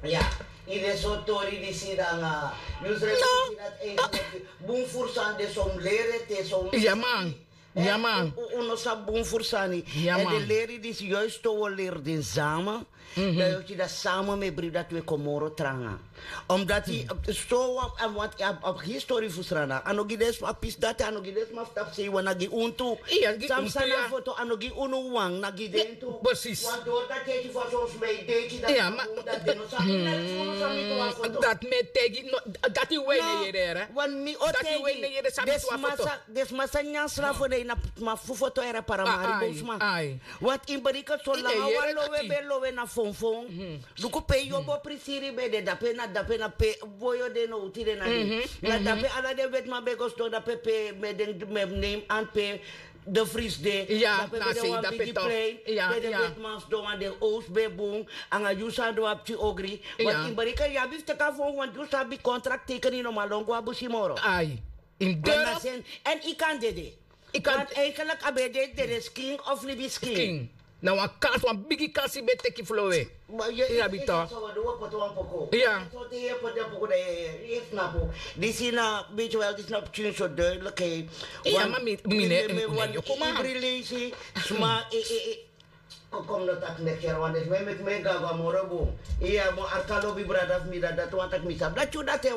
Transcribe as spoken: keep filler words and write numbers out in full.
Ya, ini so tori di sida nga yusre. Bun fursan de son lere te son. Ya man. Ya man. Un no sa bun fursani. Ya man. De leri di si juist to wo leri din sama. Dan yo kida sama me bri dat we komoro tranga. Omdat i so wan want a histori fu srana ano gi des a pis dati ano gi des ma fu tapu sei wan na gi un tu. Sam sana foto ano gi unu wan na gi den tu. Precies. Want door dat teki fu a son smei deki dat. Dat me tegi. Dati wei ne yere. Want mi o tegi. Desma sa nyan sra fu den na ma fu foto era para mari bun sma. Want in berika so langa wan lowe ben lowe na fonfon. Luku pe yobo prisiri ben de dape na dape na pe boyo de no uti de na de. Na dape ala den wetman ben go sidon dape pe me den me name an pe de fris de. Dape ben de wan bigi plein pe den wetman sidon wan den owsu ben bun. Anga yu san de wan pikin ogri. Want in berika yu abi fu teki a fon want yu sabi contract teken in no man lon go a busi moro. Ai. In doro. En i kan dede. Want eigenlijk a ben de dede skin of libi skin. Na wan kasi wan bigi kasi ben teki flowe. Ya bita. Ya. Disi na beti wel disi na pikin so duidelijk. Ya ma mi ne mi ne yo kuma. Sma. Kom no tak mek sera wan desi me mek me gaga moro bun. Iya mo arka lobi brada fu mi dati dati wan tak mi sabi dati yu dati.